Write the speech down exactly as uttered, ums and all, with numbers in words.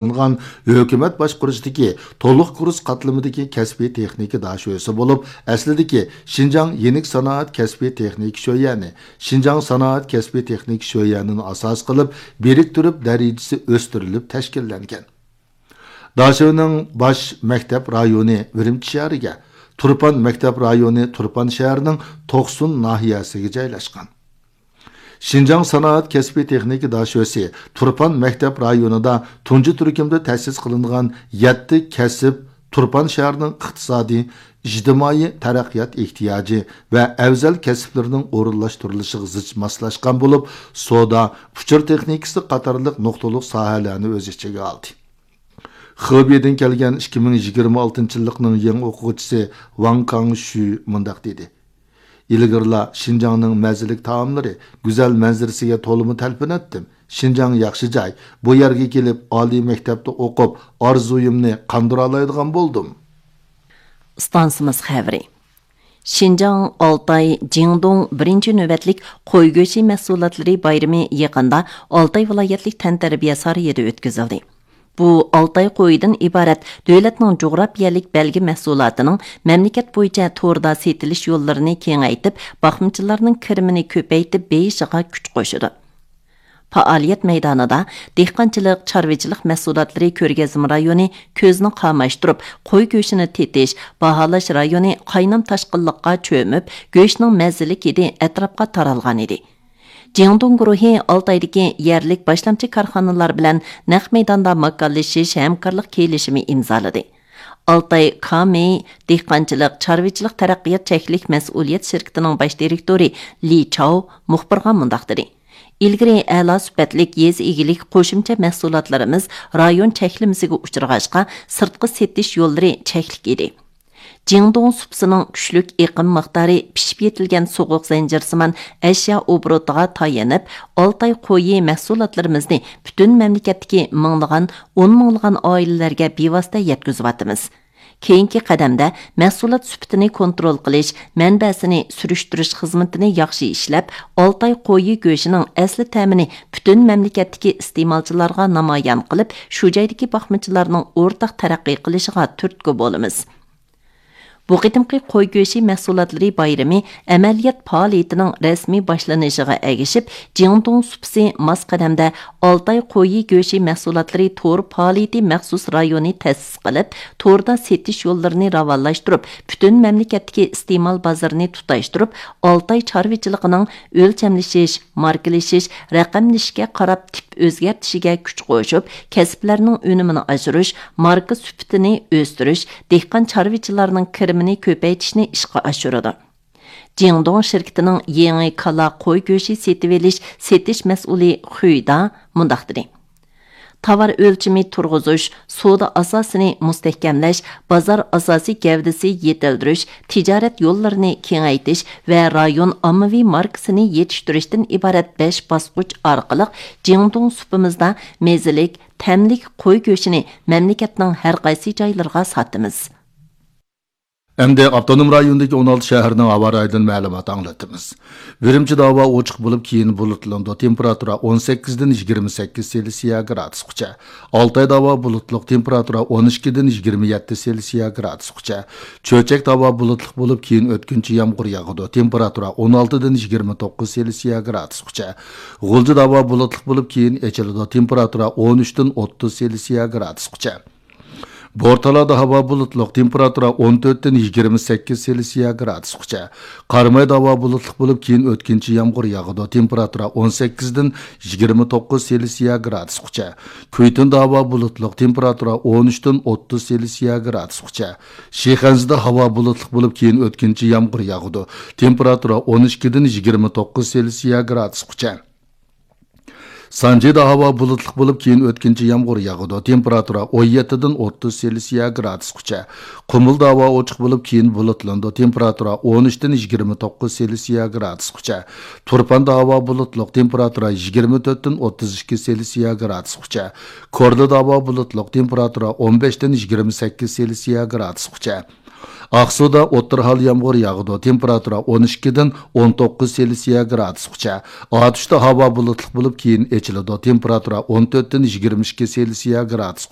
قىلىنغان ھۆكۈمەت باشقۇرۇشىدىكى تولۇق كۇرس قاتلىمىدىكى كەسپىي تېخنىكا داشۆسى بولۇپ، ئەسلىدىكى شىنجاڭ يېنىك سانائەت كەسپىي تېخنىكا شۆيەنى، شىنجاڭ سانائەت كەسپىي تېخنىكا شۆيەنىنى ئاساس قىلىپ، بىرىكتۈرۈپ دەرىجىسى ئۆستۈرۈلۈپ تەشكىللەنگەن. داشۆنىڭ باش مەكتەپ رايونى ئۈرۈمچى شەھىرىگە، تۇرپان مەكتەپ رايونى تۇرپان شەھىرىنىڭ توقسۇن ناھىيەسىگە جايلاشقان. شىنجاڭ سانائەت كەسپىي تېخنىكا داشۆسى تۇرپان مەكتەپ رايونىدا تۇنجى تۈركۈمدە تەسىس قىلىنغان يەتتە كەسىپ تۇرپان شەھىرىنىڭ ئىقتىسادىي، ئىجتىمائىي تەرەققىيات ئېھتىياجى ۋە ئەۋزەل كەسىپلىرىنىڭ ئورۇنلاشتۇرۇلۇشىغا زىچ ماسلاشقان بولۇپ، سودا، ئۇچۇر تېخنىكىسى قاتارلىق نۇقتىلىق ساھەلەرنى ئۆز ئىچىگە ئالدى. خېبېيدىن كەلگەن ئىككى مىڭ يىگىرمە ئالتىنچى يىللىقنىڭ يېڭى ئوقۇغۇچىسى ۋاڭ كاڭشۈ مۇنداق دېدى: ئىلگىرىلا شىنجاڭنىڭ مەززىلىك تائاملىرى، گۈزەل مەنزىرىسىگە تولىمۇ تەلپۈنەتتىم. شىنجاڭ ياخشى جاي، بۇ يەرگە كېلىپ ئالىي مەكتەپتە ئوقۇپ، ئارزۇيۇمنى قاندۇرالايدىغان بولدۇم. ئىستانسىمىز خەۋىرى. شىنجاڭ، ئالتاي، جىڭدۇڭ بىرىنچى نۆۋەتلىك قوي گۆشى مەھسۇلاتلىرى بايرىمى يېقىندا ئالتاي ۋىلايەتلىك تەنتەربىيە سارىيىدا ئۆتكۈزۈلدى. بۇ ئالتاي قويىدىن ئىبارەت دۆلەتنىڭ جۇغراپىيەلىك بەلگە مەھسۇلاتىنىڭ مەملىكەت بويىچە توردا سېتىلىش يوللىرىنى كېڭەيتىپ، باقمىچىلارنىڭ كىرىمىنى كۆپەيتىپ بېيىشىغا كۈچ قوشىدۇ. پائالىيەت مەيدانىدا دېھقانچىلىق، چارۋىچىلىق مەھسۇلاتلىرى كۆرگەزمە رايونى كۆزنى قاماشتۇرۇپ، قوي گۆشىنى تېتىش، باھالاش رايونى قاينام تاشقىنلىققا چۆمۈپ، گۆشنىڭ مەززىلىك ھىدى ئەتراپقا تارالغانىدى. جياڭدۇڭ گۇرۇھى ئالتايدىكى يەرلىك باشلامچى كارخانىلار بىلەن نەق مەيداندا ماكانلىشىش ھەمكارلىق كېلىشىمى ئىمزالىدى. ئالتاي كامېي دېھقانچىلىق، چارۋىچىلىق تەرەققىيات چەكلىك مەسئۇلىيەت شىركىتىنىڭ باش دىرېكتورى لى چاۋ مۇخبىرغا مۇنداق دېدى: ئىلگىرى ئەلا سۈپەتلىك يېزا ئىگىلىك قوشۇمچە مەھسۇلاتلىرىمىز رايون چەكلىمىسىگە ئۇچرىغاچقا، سىرتقا سېتىش يوللىرى چەكلىك ئىدى. جىڭدۇڭ سۇپىسىنىڭ كۈچلۈك ئېقىم مىقدارى پىشىپ يېتىلگەن سوغۇق زەنجىرسىمان ئەشيا ئوبوروتىغا تايىنىپ، ئالتاي قويى مەھسۇلاتلىرىمىزنى پۈتۈن مەملىكەتتىكى مىڭلىغان، ئون مىڭلىغان ئائىلىلەرگە بىۋاسىتە يەتكۈزۈۋاتىمىز. كېيىنكى قەدەمدە مەھسۇلات سۈپىتىنى كونترول قىلىش، مەنبەسىنى سۈرۈشتۈرۈش خىزمىتىنى ياخشى ئىشلەپ، ئالتاي قويى گۆشىنىڭ ئەسلى تەمىنى پۈتۈن مەملىكەتتىكى ئىستېمالچىلارغا نامايان قىلىپ، شۇ جايدىكى باقمىچىلارنىڭ ئورتاق تەرەققىي قىلىشىغا تۈرتكە بولىمىز. بۇ قېتىمقى قوي گۆشى مەھسۇلاتلىرى بايرىمى ئەمەلىيەت پائالىيىتىنىڭ رەسمىي باشلىنىشىغا ئەگىشىپ، جياڭدۇڭ سۇپىسى ماس قەدەمدە ئالتاي قويى گۆشى مەھسۇلاتلىرى تور پائالىيىتى مەخسۇس رايونى تەسىس قىلىپ، توردا سېتىش يوللىرىنى راۋانلاشتۇرۇپ، پۈتۈن مەملىكەتتىكى ئىستېمال بازىرىنى تۇتاشتۇرۇپ، ئالتاي چارۋىچىلىقىنىڭ ئۆلچەملىشىش، ماركىلىشىش، رەقەملىشىشكە قاراپ تىپ ئۆزگەرتىشىگە كۈچ قوشۇپ، كەسىپلەرنىڭ ئۈنۈمىنى ئاشۇرۇش، ماركا سۈپىتىنى ئۆستۈرۈش، دېھقان چارۋىچىلارنىڭ كىرىمىنى كۆپەيتىشنى ئىشقا ئاشۇرىدۇ. جياڭدۇڭ شىركىتىنىڭ يېڭى كالا قوي گۆشى سېتىۋېلىش سېتىش مەسئۇلى خۈيدا مۇنداق دېدى: تاۋار ئۆلچىمى تۇرغۇزۇش، سودا ئاساسىنى مۇستەھكەملەش، بازار ئاساسىي گەۋدىسى يېتىلدۈرۈش، تىجارەت يوللىرىنى كېڭەيتىش ۋە رايون ئاممىۋى ماركىسىنى يېتىشتۈرۈشتىن ئىبارەت بەش باسقۇچ ئارقىلىق جياڭدۇڭ سۇپىمىزدا مېزىلىك، تەملىك قوي گۆشىنى مەملىكەتنىڭ ھەر قايسى جايلىرىغا ساتىمىز. ئەمدى ئاپتونوم رايوندىكى ئون ئالتە شەھەرنىڭ ھاۋا رايىدىن مەلۇمات ئاڭلىتىمىز. ئۈرۈمچىدە ھاۋا ئوچۇق بولۇپ، كېيىن بۇلۇتلىنىدۇ. تېمپېراتۇرا ئون سەككىزدىن يىگىرمە سەككىز سېلسىيە گرادۇسقىچە. ئالتايدا ھاۋا بۇلۇتلۇق، تېمپېراتۇرا ئون ئىككىدىن يىگىرمە يەتتە سېلسىيە گرادۇسقىچە. چۆچەكتە ھاۋا بۇلۇتلۇق بولۇپ، كېيىن ئۆتكۈنچى يامغۇر ياغىدۇ. تېمپېراتۇرا ئون ئالتىدىن يىگىرمە توققۇز سېلسىيە گرادۇسقىچە. غۇلجىدا ھاۋا بۇلۇتلۇق بولۇپ، كېيىن ئېچىلىدۇ. تېمپېراتۇرا ئون ئۈچتىن ئوتتۇز سېلسىيە گرادۇسقىچە. بورتالادا ھاۋا بۇلۇتلۇق، تېمپېراتۇرا ئون تۆتتىن يىگىرمە سەككىز سېلسىيە گرادۇسقىچە. قارامايدا ھاۋا بۇلۇتلۇق بولۇپ، كېيىن ئۆتكۈنچى يامغۇر ياغىدۇ، تېمپېراتۇرا ئون سەككىزدىن يىگىرمە توققۇز سېلسىيە گرادۇسقىچە. كۈيتۇندا ھاۋا بۇلۇتلۇق، تېمپېراتۇرا ئون ئۈچتىن ئوتتۇز سېلسىيە گرادۇسقىچە. شىخەنزىدە ھاۋا بۇلۇتلۇق بولۇپ، كېيىن ئۆتكۈنچى يامغۇر ياغىدۇ، تېمپېراتۇرا ئون ئىككىدىن يىگىرمە توققۇز سېلسىيە گرادۇسقىچە. سانجىدا ھاۋا بۇلۇتلۇق بولۇپ، كېيىن ئۆتكۈنچى يامغۇر ياغىدۇ، تېمپېراتۇرا ئون يەتتىدىن ئوتتۇز سېلسىيە گرادۇسقىچە. قۇمۇلدا ھاۋا ئوچۇق بولۇپ، كېيىن بۇلۇتلىنىدۇ، تېمپېراتۇرا ئون ئۈچتىن يىگىرمە توققۇز سېلسىيە گرادۇسقىچە. تۇرپاندا ھاۋا بۇلۇتلۇق، تېمپېراتۇرا يىگىرمە تۆتتىن ئوتتۇز ئىككى سېلسىيە گرادۇسقىچە. كورلىدا ھاۋا بۇلۇتلۇق، تېمپېراتۇرا ئون بەشتىن يىگىرمە سەككىز سېلسىيە گرادۇسقىچە. ئاقسۇدا ئوتتۇرا ھال يامغۇر ياغىدۇ، تېمپېراتۇرا ئون ئىككىدىن ئون توققۇز سېلسىيە گرادۇسقىچە. ئاتۇشتا ھاۋا بۇلۇتلۇق بولۇپ، كېيىن ئېچىلىدۇ، تېمپېراتۇرا ئون تۆتتىن يىگىرمە ئىككى سېلسىيە گرادۇسقىچە.